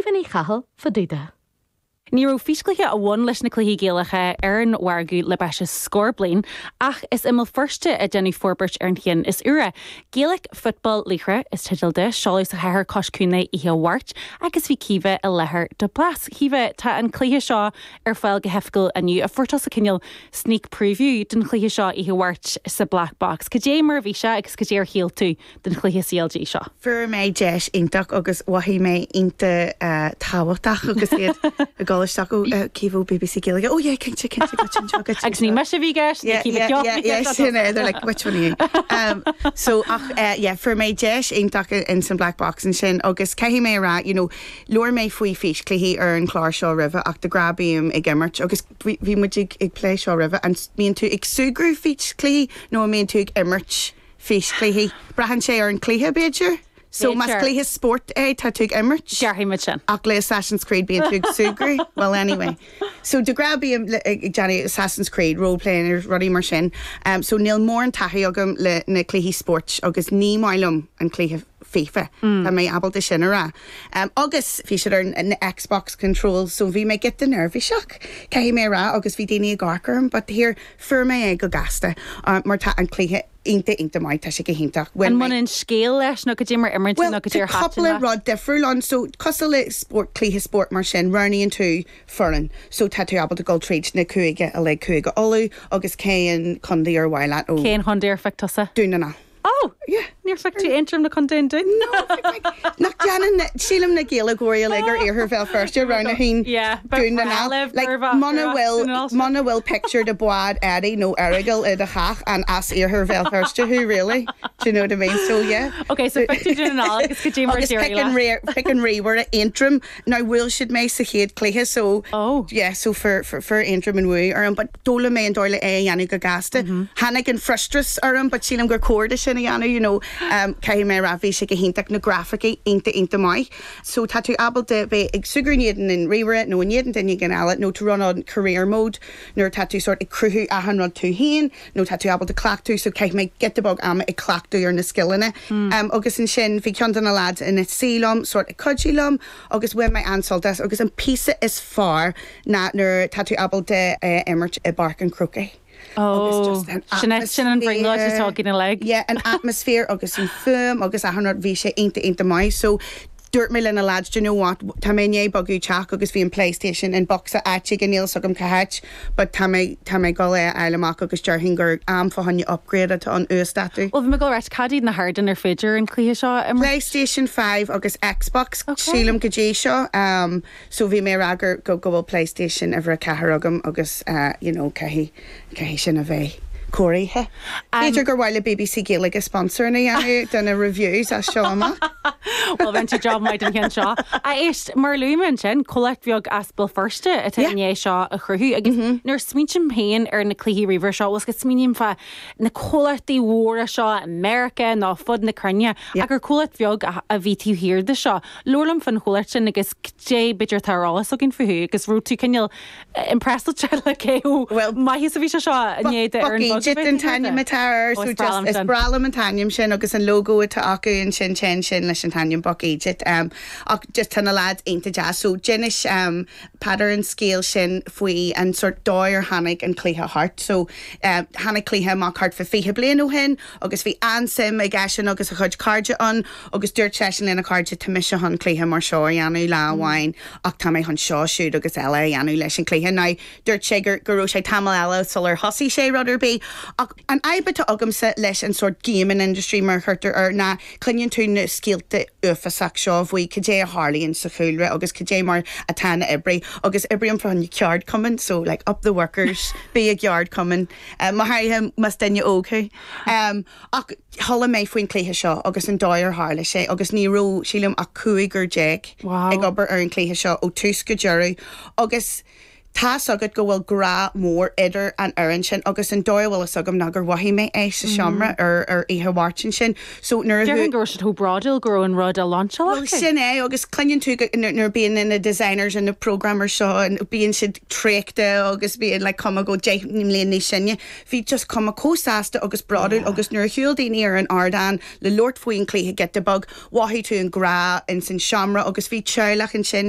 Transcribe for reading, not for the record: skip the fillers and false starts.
Caoimhe Ní Chathail fá dtaobh de. Ní raibh físchluiche a bhain leis na cluichí Gaelacha ar an mhargadh le breis is scór bliain, ach is i mBéal Feirste a deineadh forbairt ar an cheann is úire. Gaelic Football Laochra is teideal di, seoladh sa chathair cois cuain é oíche Mháirt agus bhí Caoimhe i láthair do Blas. Caoimhe, tá an cluiche seo ar fáil go hoifigiúil inniu. Fuair tusa cineál sneak preview den chluiche seo oíche Mháirt sa Black Box. Cad é mar a bhí sé agus cad é ar shíl tú den chluiche CLG seo? Fuair mé deis iontach agus mhothaigh mé iontach tábhachtach agus iad ag dul isteach ó Caoimhe ó BBC Gaeilge. Oh yeah, cinnte, cinnte, goitse anseo, goitse Agus ní mise a bhí i gceist, ní Caoimhe Yeah, yeah, yeah, sin é, they're like, which one are you? Um, so, ach, eh, yeah, fuair mé deis iontach in san Black Box ansin agus caithfidh mé a rá, you know, labhair mé faoi físchluichí ar an chlár seo roimhe ach de ghnáth bím ag imirt agus bhí, bhí muid ag, ag plé seo roimhe, an mbíonn tú ag súgradh físchluichí nó an mbíonn tú ag imirt físchluichí. Braitheann sé ar an chluiche, b'fhéidir. So, más cluiche spóirt é, tá tú ag imirt. Déarfaidh muid sin. Ach le Assassin's Creed bíonn tú ag súgradh. Well, anyway. So, de ghnáth bím ag déanamh Assassin's Creed, role-playing agus rudaí mar sin. So, níl mórán taithí agam le na cluichí spóirt agus ní maith liom an cluiche FIFA. Tá mé ábalta sin a rá. Agus bhí siad ar na Xbox controls so bhí mé giota neirbhíseach, caithfidh mé a rá, agus bhí daoine ag amharc orm but here, Fuair mé é go gasta mar tá an cluiche iontach iontach maith, tá sé go hiontach. Bhain An mé. mbaineann scéal leis nó cad é mar imríonn tú Bhuel, nó cad tá é ar thaitin cúpla leat? rud difriúil ann. So, cosúil le spórt, cluiche spóirt mar sin, roghnaíonn tú foireann. So, tá tú ábalta dul tríd na cúige uilig, Cúige Uladh agus cén contae ar mhaith leat ó Cén chontae ar phioc tusa? Dún na nGall. Oh! Yeah. Níor phioc tú Aontroim nó Contae an Dúin? No, phioc mé. Nach déanann na, sílim na Gaeilgeoirí uilig ar iarthar Bhéal Feirste roghnaíonn siad Yeah, ba Dún na bhreá nGall. libh Like, gurbh as muna Dún bhfuil, na nGall sibh. muna bhfuil pictiúr de bhád Eddie nó Errigal i do theach, an as iarthar Bhéal Feirste thú, really? Do you know what I mean? So, yeah. Ok, so phioc tú Dún na nGall agus cad é mar a Agus d'éirigh pick an leat? rí, pick an ríomhaire Aontroim. Now, bhuail siad mé sa chéad cluiche, so, Oh. yeah, so fuair, fuair, fuair Aontroim an bhuaidh orm, but D'fhoghlaim mé an dóigh le é a dhéanamh go gasta. Tháinig an frustrachas orm but sílim gur cóir do sin a dhéanamh you know. Caithfidh mé a rá bhí sé go hiontach, na grafaicí iontach iontach maith. So tá tú ábalta bheith ag súgradh in éadan an ríomhaire nó in éadan duine éigin eile nó to run on career mode nuair atá tú sort ag cruthú achan rud tú féin nó tá tú ábalta cleachtadh so chaith mé giota beag ama ag cleachtadh ar na scileanna. Agus ansin bhí ceann de na lads ina suí liom sort ag cuidiú liom agus bhain mé an-sult as agus an píosa is fearr ná nuair tá tú ábalta imirt i bPáirc an Chrócaigh agus just an Sin é, sin an bhrionglóid atá againn uilig. Yeah, an atmaisféar agus an fuaim agus achan rud, bhí sé iontach iontach maith. So dúirt mé le na lads, do you know what, tá mé i ndiaidh bogadh teach agus bhí an PlayStation in bocsa áit éigin, níl fhios agam cá háit, but tá mé, tá mé ag dul é a fháil amach agus déarfainn gur am fá choinne upgrade atá ann, uasdátú. Bhuel, bhí mé ag dul a ráit, cad iad na hardáin ar féidir an cluiche seo a imirt? PlayStation 5 agus Xbox, Ok. sílim go dtí seo. So bhí mé ag rá gur, go, go bhfuil PlayStation uimhir a 4 agam agus eh you know caithfidh, caithfidh sin a bheith cóirithe. B'fhéidir gur mhaith le BBC Gaeilge sponsoring a dhéanamh do na reviews as seo amach. Bhuel, rinne tú job maith den cheann seo. Ach éist, mar a luaigh mé ansin, comhlacht bheag as Béal Feirste atá Yeah. i ndiaidh seo a chruthú agus nuair a smaointím féin ar na cluichí ríomhaire seo, bhuel, go smaoiním fá na comhlachtaí mhóra seo i Meiriceá nó fud na cruinne, Yeah. ach gur comhlacht bheag a, a bhí taobh thiar de seo. Labhair liom fán chomhlacht sin agus cad é b'fhéidir atá ar eolas againn fúthu agus raibh tú cineál impressed le cé chomh maith is a bhí sé seo i ndiaidh d'fhoireann Buck bheag a Egypt bheith an taobh thiar t-ainm de. atá air Ó so is breá just liom is sin. breá liom an t-ainm sin agus an logo atá acu ansin téann sin leis an t-ainm Buck Egypt um, ach just tá na lads iontach deas so d'inis um, Peadar an scéal sin faoi an sort dóigh ar tháinig an cluiche thart so um, tháinig cluiche amach thart fá 20 bliain ó shin agus bhí an-suim ag eisean agus a chuid cairde ann Agus dúirt seisean lena chairde, Tá mise chun cluiche mar seo a dhéanamh lá amháin ach tá mé chun seo, siúd agus eile a dhéanamh leis an chluiche. Now, dúirt sé gur, go raibh sé tamall eile sular thosaigh sé rud ar bith. Ach an fhadhb atá agamsa leis an sórt gaming industry, mar a chuirtear air, ná cluineann tú na scéalta uafásach seo faoi cad é a tharlaíonn sa chúlra agus cad é mar atá na oibrithe. Agus oibrím fá choinne ceardchumann, so like up the workers, bí i gceardchumann, go háirithe más duine óg thú. Ach chuala mé faoin chluiche seo agus an dóigh ar tharla sé agus ní raibh, sílim, ach cúigear ag obair ar an chluiche seo ó tús go deireadh agus. Tá's agat go bhfuil grá mór idir an fhoireann sin agus an dóigh a bhfuil fhios agam ná gur mhothaigh mé é sa seomra ar ar oíche Mháirt ansin. So nuair a Déarfainn go raibh siad chomh bródúil go raibh an rud á lainseáil acu. Bhuel sin é agus cluineann tú go nuair a bíonn na designers and na programmers seo and bíonn siad traochta agus bíonn like cuma go 10 mbliana níos sine. Bhí just cuma chomh sásta agus bródúil agus nuair a shiúil daoine ar an ardán le labhairt faoin chluiche giota beag, mhothaigh tú an grá ins an seomra agus bhí teaghlach ansin.